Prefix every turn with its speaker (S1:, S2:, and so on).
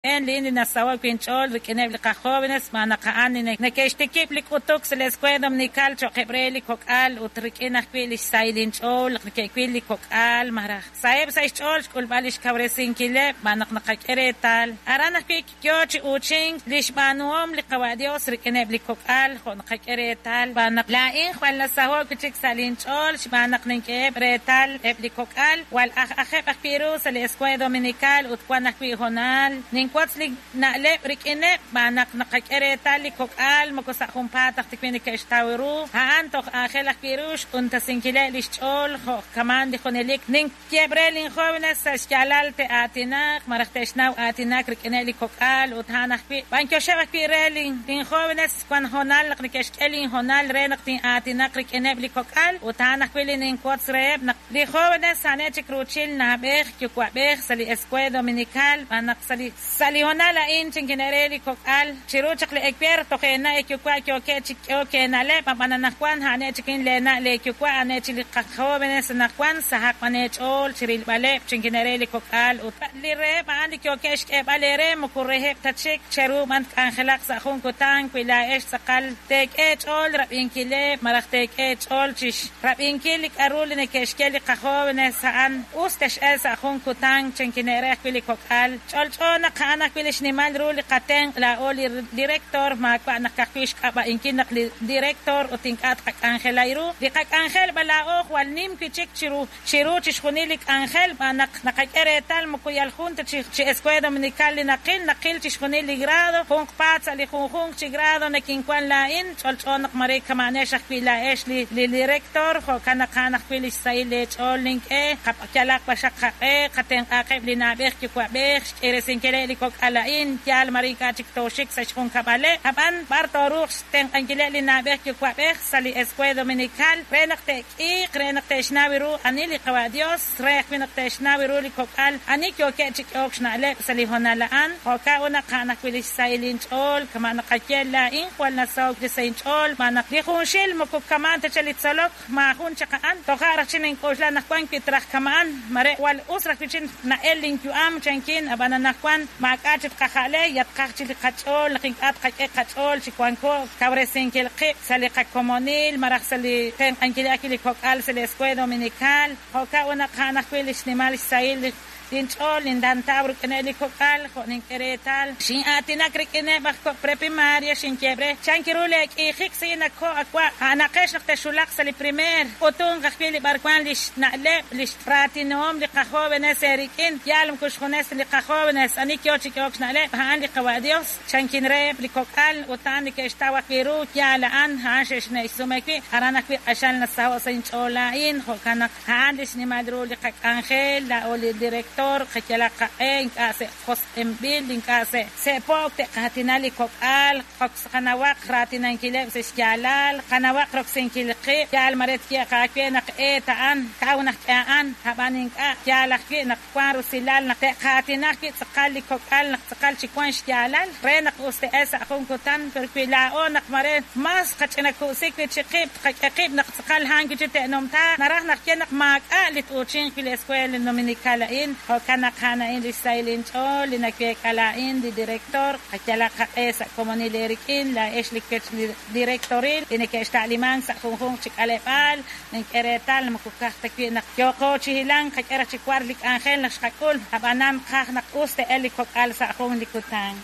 S1: Li nasaho' wi' inch'ool rik'ineb' li qajóvenes xb'aan naq a'an li neke'xtikib' li k'utuk sa' li Escuela Dominical cho'qeb' re li kok'al ut rik'in ajwi' li xsahil inch'ool naq neke'wil li kok'al malaj saheb' sa' xch'ool xk'ulb'al li xkawresinkileb' xb'aan naq naqak'e reetal aran ajwi' yo chi uuchink li xb'aanuhom li Qawa' Dios rik'ineb' li kok'al jo' naqak'e reetal xb'aan naq laa'in jwal nasaho' wi' chik sa' linch'ool xb'aan naq nink'eheb' reetal eb' li kok'al jwal aj'ajeb' ajwi' ru sa' li Escuela Dominical ut wan ajwi' hoonal ninwotz li na'leb' rik'ineb' xb'aan naq naqak'e reetal li kok'al moko sa' junpaat taj ta wi' neke'xtaw ru a'an toj aajel ajwi' ru xq'untasinkileb' li xch'ool jo' kamaan li junelik ninyeb' re linjóvenes sa' xyaalal te'aatinaq malaj te'xnaw aatinak rik'ineb' li kok'al ut a'an ajwi' b'anyoxeb' ajwi' re linjóvenes wan hoonal naq neke'xk'e linhoonal re naq tin'aatinaq rik'ineb' li kok'al ut a'an ajwi' li ninwotz reheb' naq li jóvenes a'aneb' chik ruuchil na'b'ej yuwa'b'ej sa' li Escuela Dominical xb'aan naq sa' li hoonal a'in chinkine' re li kok'al chiru chaq li ewer toj eena' eeyuwa' yookeb' chi k'ehok eena'leb' ab'an anaqwan a'aneb' chik leena' leeyuwa' a'aneb' chik li qajóvenes anaqwan sahaq b'an eech'ool chi rilb'aleb' chinkine' re li kok'al ut li reheb' a'an li yookeb' xk'eeb'al eere moko reheb' ta chik cheru b'an tk'anjelaq sa' jun kutan wi laa'ex tz'aqal teek'e eech'ool rab'inkileb' malaj teek'e eech'ool chi rab'inkil li k'aru li neke'xye li qajóvenes a'an us tex'el sa' jun kutan chinkine' re ajwi' li kok'al ch'olch'o naq a'an ajwi' li xnimal ru li qatenq' laa'o li director maawa' naq ka'ajwi' xk'ab'a'inkil naq li director ut ink'a' tqak'anjelai ru li qak'anjel b'an laa'o jwal nim wi' chik chiru chiru chixjunil li k'anjel xb'aan naq naqak'e reetal moko yal jun ta chi Escuela Dominical li naqil naqil chixjunil li grado junqpaat sa' li junjunq chi grado nakinwan laa'in ch'olch'o naq mare kama'anex ajwi' laa'ex li director jo'kan naq a'an ajwi' li xsahil leech'ool nink'e yalaq b'axaq qaq'e qatenq'aqeb' li na'b'ej yuwa'b'ej xk'iresinkileb' li kok'al a'in yaal mare ink'a' chik tooxik sa' xjunkab'aleb' ab'an b'ar tooruuq xtenq'ankileb' li na'b'ej yuwa'b'ej sa' li Escuela Dominical re naq te'k'iiq re naq te'xnaw ru ani li Qawa' Dios re ajwi' naq te'xnaw ru li kok'al ani yookeb' chi k'ehok xna'leb' sa' li hoonal a'an jo'kan ut naq a'an ajwi' li xsahil inch'ool kama' naqaye laa'in jwal nasaho'k li sa' inch'ool xb'aan naq li junxil moko kamaan ta chaq li tzolok maajun chaq a'an toja' raj chi nink'oxla naq wan wi' traj kama'an mare jwal us raj wi' chi na'el linyu'am chankin ab'an anaqwan maak'a' chik tqaja'le yatqaj chi li qach'ool naq ink'a' tqak'e qach'ool chi wanko kawresinkil qib' sa' li qakomonil malaj sa' li tenq'ankil ajwi' li kok'al sa' li Escuela Dominical jo'kan ut naq a'an ajwi' li xnimal xsahil linch'ool nindantaw rik'ineb' li kok'al jo' nink'e reetal xin'aatinak rik'ineb' aj kok' preprimaria xinyeb' re chanki ru leek'iijik si nako awa' a'anaqex naq texulaq sa' li primer k'utunq ajwi' li b'arwan li xna'leb' li xraatinohom li qajóvenes eerik'in yaal moko xjunes li qajóvenes ani yo chi k'ehok xna'leb' a'an li Qawa' Dios chankin reheb' li kok'al ut a'an neke'xtaw ajwi' ru yaal a'an a'an xe'xne'xsume wi' aran ajwi' q'axal nasaho' sa' inch'ool laa'in jo'kan naq a'an li xnimal ru li qak'anjel laa'o li director qayalaq qaq'e ink'a' se' josq'inb'il ink'a' se' se'po'k te'qaatina li kok'al qanawaq raatinankileb' sa' xyaalal qanawaq roksinkil qib' yaal mare tyeeq aawe naq eet a'an kaw naq k'e a'an ab'an ink'a' yaal ajwi' naq wan rusilal naq te'qaatina ajwi' tz'aqal li kok'al naq tz'aqal chi wan xyaalal re naq us te'el sa' jun kutan pero wi laa'o naq mare mas qach'inaku'sik wi' chi qib' tqak'e qib' naq tz'aqal a'an wi' chi te'numtaaq naraj naq ye naq maak'a' li t'uuchinq wi' li Escuela Dominical a'in jo'kan naq a'an a'in li xsahil inch'ool li naweek'a laa'in li director qayalaq qaq'e sa' komonil eerik'in laa'ex li kech li directoril li neke'xta'limank sa' junjunq chi k'aleb'aal nink'e reetal moko kaj ta wi' naq yooqo chi hilank qak'e raj chi war li k'anjel naq xqak'ul ab'anan qaj naq us te'el li kok'al sa' jun li kutan.